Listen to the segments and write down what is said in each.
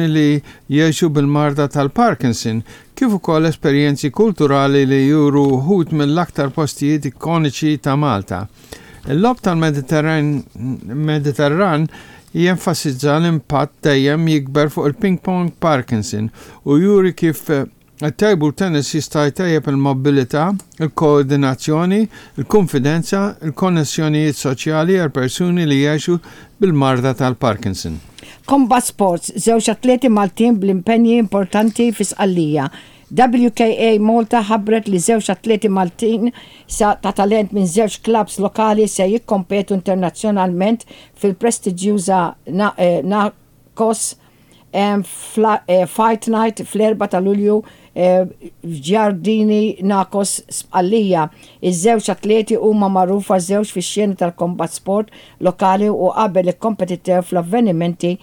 li jgħixu bil-marda tal-Parkinson, kif ukoll esperjenzi kulturali li juru wħud mill-aktar postijiet ikoniċi ta' Malta. Il-Logħob tal-Mediterran jenfasizza l-impatt dejjem jikber fuq il-Ping Pong Parkinson u juri kif It-table tennis jista' jtejjeb il-mobbilità, il-koordinazzjoni, il-kunfidenza, il-konnessjonijiet soċjali għal persuni li jgħixu bil-marda tal-Parkinson. Combat Sports, Żewġ atleti Maltin bl-impenji importanti fi Sqallija. WKA Malta ħabbret li żewġ atleti Maltin sa ta' talent minn żewġ klabbs lokali se jikkompetu internazzjonalment fil-prestiġjuża Kos Fight Night fl-4 ta' Lulju f'Giardini Nakos Sqallija. Iż-żewġ atleti huma magħrufa żewġ fix-xena tal-combat sport lokali u qabel ikkompetitew fl-avvenimenti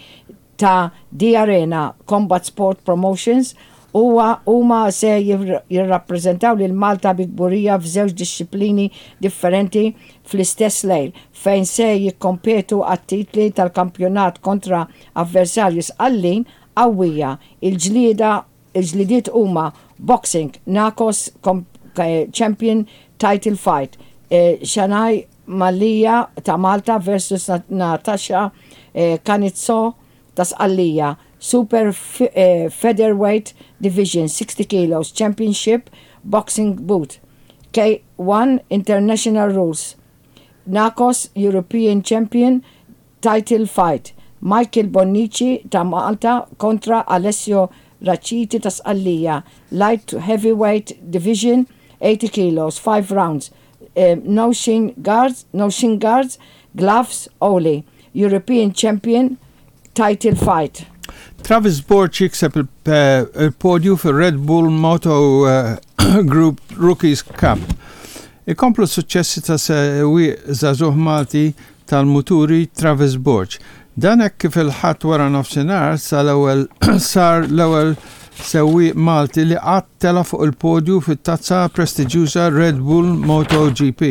ta' The Arena Combat Sport Promotions Huwa huma se jirrappreżentaw lil Malta bi kburija f'żewġ dixxiplini differenti fl-istess lejl, fejn se jikkompetu għat-titli tal-kampjonat kontra avversarji Sqallin qawwija. Il-ġlieda il-ġlidiet huma Boxing, Nakos Champion Title Fight, Shanai Mallia ta' Malta versus Natasha Canizzo ta' Sqallija, Super Featherweight Division 60 kilos Championship Boxing Bout, K1 International Rules, Nakos European Champion Title Fight, Michael Bonnici ta' Malta kontra Alessio Raciti ta' Sqallija, Light Heavyweight Division 80 kilos, 5 rounds, no shin guards, no shin guards, gloves only, European Champion Title Fight. Travis Borg jikseb il-podju fir-Red Bull Moto Group Rookies Cup. Ikomplu s-suċċessi ta' sewwieq żagħżugħ Malti tal-muturi Travis Borg. Dan hekk kif il-Ħadd waranofsinhar sal-ewwel sar l-ewwel sewwieq Malti li qatt tela' fuq il-podju fit-tazza prestiġjuża Red Bull MotoGP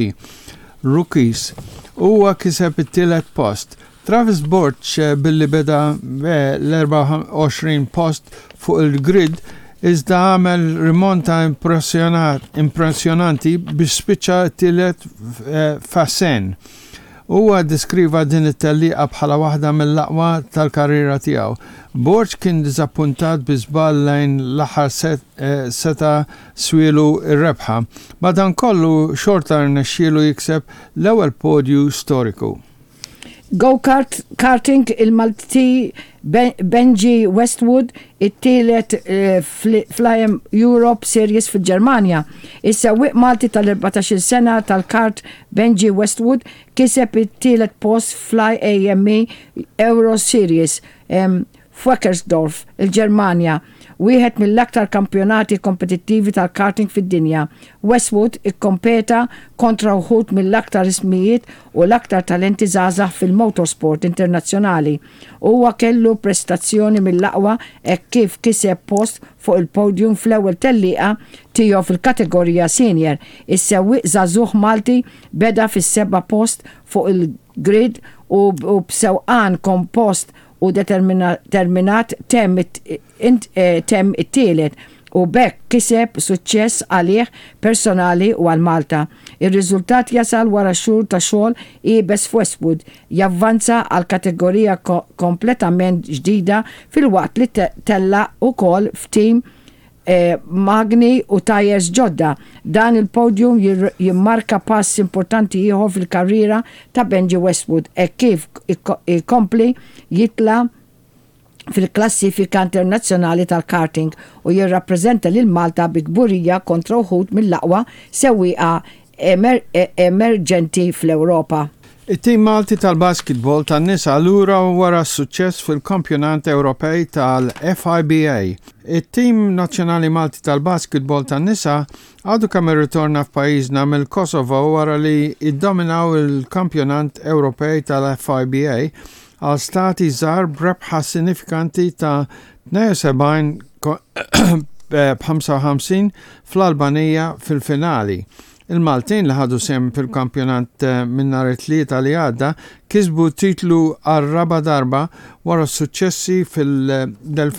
Rookies. Huwa kiseb it-tielet post. Travis Borg billi beda l-24 post fuq il-grid iżda għamel rimonta impressjonanti biex spiċċa t-tielet f'Assen. Huwa ddeskriva din it-tellieqa bħala waħda mill-aqwa tal-karriera tiegħu. Borg kien diżappuntat bi żball lejn l-aħħar seta' swielu r-rebħa. Madankollu xorta rnexxielu jikseb l-ewwel podju storiku. Go-kart karting il-Malti Benji Westwood it-tielet fl-IM Europe Series fil-Ġermanja. Is-sewwieq Malti tal-14-il sena tal-kart Benji Westwood kiseb it-tielet post fl-IAME Euro Series f'Weckersdorf, il-Ġermanja, wieħed mill-aktar kampjonati kompetittivi tal-karting fid-dinja. Westwood ikkompeta kontra wħud mill-aktar ismijiet u l-aktar talenti żgħażagħ fil-motorsport internazzjonali. Huwa kellu prestazzjoni mill-aqwa hekk kif kiseb post fuq il-podium fl-ewwel tellieqa tiegħu fil-kategorija senior. Is-sewwieq żagħżugħ Malti beda fis-seba' post fuq il-grid u b'sewqan kompost u determinat temm temm it-tielet u b'hekk kiseb suċċess għalih personali u għal Malta. Ir-riżultat jasal wara xhur ta' xogħol iebes f'Westwood javvanza għal kategorija kompletament ġdida filwaqt li tellaq ukoll f'tim magni u tajers ġodda. Dan il-podium jimmarka pass importanti ieħor fil-karriera ta' Benji Westwood hekk kif ikompli jitla' fil-klassifika internazzjonali tal-karting u jirrappreżenta lil Malta bi kburija kontra wħud mill-aqwa sewwieqa emerġenti fl-Ewropa. It-tim Malti tal-basketball tan-nisa lura wara s-suċċess fil-Kampjonat Ewropej tal-FIBA. It-tim nazzjonali Malti tal-basketball tan-nisa għadu kemm irritorna f'pajjiżna mill-Kosovo wara li ddominaw il-Kampjonat Ewropej tal-FIBA għal stati żgħar b'rebħa sinifikanti ta' 72 b'55 fl-Albanija fil-finali. Il-Maltin li ħadu sehem fil-kampjonat minn nhar it-Tlieta li għadda kisbu t-titlu għar-raba' darba wara s-suċċessi fil-2024.